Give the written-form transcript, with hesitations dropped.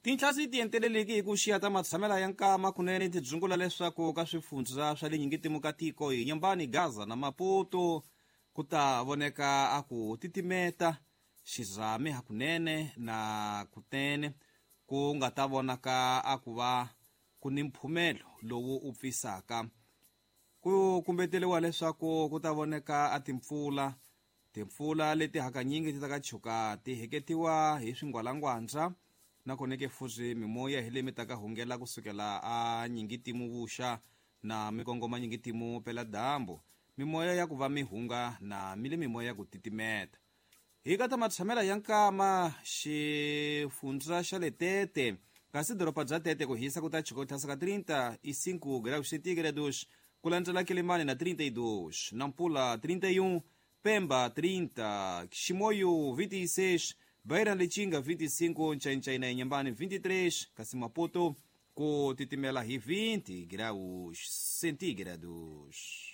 Tintlhasi ti enteleleki hi ku xiya ta matshamela ya nkama kunene ti dzungula leswaku ka swifundza swa le nyingitimu ka tiko hi Nyambani, Gaza na Maputo ku ta voneka a ku titimeta xirhami hakunene na kunene ku nga ta vonaka a ku va ku ni mphumelo lowu u pfisaka. Ku kumbeteliwa leswaku ku ta voneka a timpfula, timpfula leti hakanyingi ti ta ka chuka ti heketiwa hi swingwalangwandza nakona ke futhi mimoya hi leyi mi ta ka hungela kusukela a nyingitimu vuxa na mikongoma nyingitimu pela dyambu. Mimoya ya ku va mi hunga na mi le mimoya ya ku titimeta. Hi ka ta matshamela ya nkama xifundza xa le Tete, kasi doroba bya Tete ku hisa ku ta chuka ku tlhasa ka 35 graus centígrados, ku landzela Quelimane na 32, Nampula 31, Pemba 30, Chimoio 26, Beira Lichinga 25, Nchainchai na Inhambane 23, kasi Maputo ku titimela hi 20 graus centígrados.